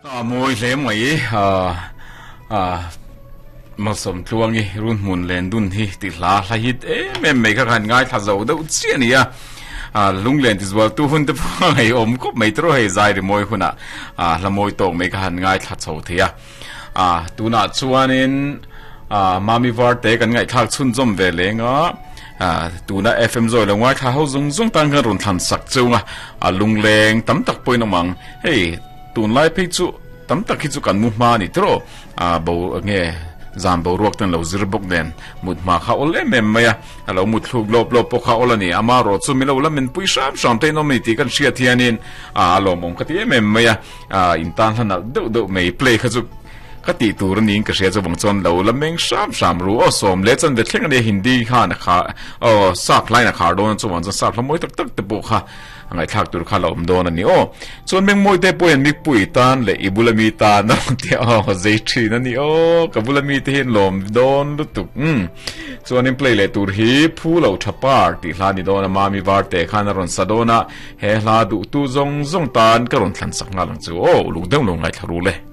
A mawi hle mai a Malsawm Tluangi run hmun len dun hi ti hla hla hit em em mai kha khan ngaithla zo deuh chiah a ni a a lunglen ti zual tu hun te pawh a ngaihawm khawp mai tawrh hei zai ri mawi hunah a hla mawi tawk mai kha han ngaithla chho thei a a tunah chuanin a Mami Varte kan ngaihthlak chhunzawm ve leng a a tuna FM zawi lo ngaithla ho zung zung tan khan rawn thlan sak chunga a lungleng tam tak pawhin awm ang hei Tunlai phei chu tam tak hi chu kan mu hma a ni tawh a, bo nge zan boruak ten lo zir bawk nen mut hma kha awl em em mai a, a lo mut thluk lawp lawp pawh kha awl a ni. Amaherawh chu milo la minpui hram hram te in awm a ni tih kan hriat hianin a lawmawm ka ti em em mai a, in tan hla nalh deuh deuh mai play kha chu ka tih tur a niin ka hria chuvang chuan lo la meng hram hram ru aw sawm leh chanve thleng a nia Hindi khan a khar aw sap hlain a khar dawn a chuvang chuan sap hla mawi tak tak te pawh kha A ngaihthlak tur kha la awm dawn a ni aw. Chuan Mengmawi te pawhin Mikpui tan leh i bula mi tan a rawn ti a aw zei thin a ni aw. Ka bula mi te hian lawm dawn lutuk umm. Chuanin play leh tur hi Phu lo tha par tih hla a ni dawn a Mami Varte khan a rawn sa dawn a, he hla duhtu zawng zawng tan ka rawn thlan sak nghal ang chu aw uluk deuh lo ngaithla ru le.